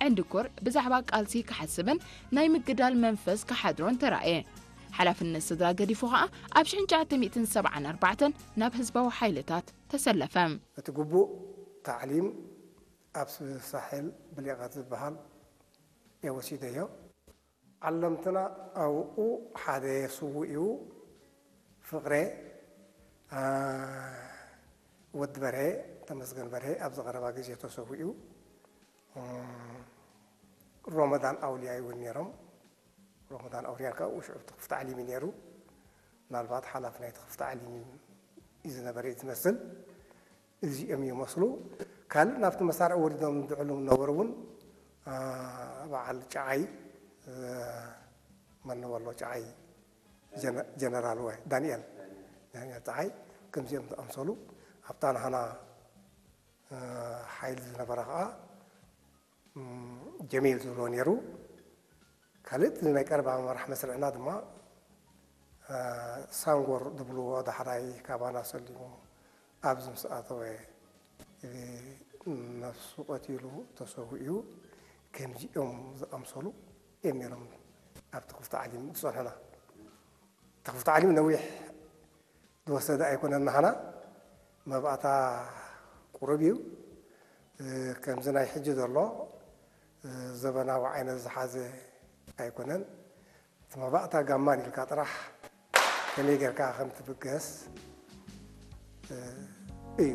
እንድኩር ብዛዕባ ቃልሲ ክሓስብን ናይ ምግዳል መንፈስ ክሓድሮን ተራእየ። ሓላፍነት ስድራ ገዲፉ ኸኣ ኣብ ሽሕን ትሽዓተ ሚእትን ሰብዓን ኣርባዕተን ናብ ህዝባዊ ሓይልታት ተሰለፈ። እቲ ግቡእ ታዕሊም ኣብ ሳሕል ብሊቐት ዝበሃል እየ ወሲደዮ። ዓለምትና ኣብኡ ሓደ ስዉእ እዩ፣ ፍቕሬ፣ አ፣ ወዲ በርሄ፣ ተመስገን በርሄ ኣብዚ ቀረባ ግዜ ተሰዊኡ። እም፣ ሮመዳን ኣውልያ እውን ነይሮም። ሮመዳን ኣውልያ ከዓ ሽዑ እቲ ክፍቲ ዓሊም እዩ ነይሩ። ምናልባት ሓላፊ ናይቲ ክፍቲ ዓሊም እዩ ዝነበረ እዩ ዝመስል። እዚኦም ይመስሉ። ካልእ ናብቲ መሳርዕ ወሪዶም ዝዕሉ ነበሩ እውን፣ አ፣ በዓል ጨዓይ፣ እ፣ መን ነበሎ ጨዓይ? ጀነ-፣ ጀነራል ወይ ዳንኤል፣ ዳንኤል ጨዓይ፣ ከምዚኦም ዝኣምሰሉ ኣብታ ናህና፣ እ፣ ሓይሊ ዝነበረ ከዓ፣ እም፣ ጀሚል ዝብሎ ነይሩ። ካልእ ናይ ቀረባ መራሕ መስርዕና ድማ፣ እ፣ ሳንጎር ዝብልዎ ዳሕራይ ካባና ሰሊሙ ኣብዚ ምስ ኣተወ፣ እ፣ ነፍሱ ቀቲሉ ተሰዊኡ። ከምዚኦም ዝኣምሰሉ እዮም ነይሮም ኣብቲ ክፍቲ ዓሊም ዝጸንሑና። እቲ ክፍቲ ዓሊም ነዊሕ ዝወሰደ ኣይኮነን። ናህና መባእታ ቁሩብ እዩ። እ፣ ከምዚ ናይ ሕጂ ዘሎ፣ እ፣ ዘበናዊ ዓይነት ዝሓዘ ኣይኮነን። እቲ መባእታ ጋማን ኢልካ ጥራሕ ከመይ ጌርካ ከም ትብገስ፣ እ፣ እዩ።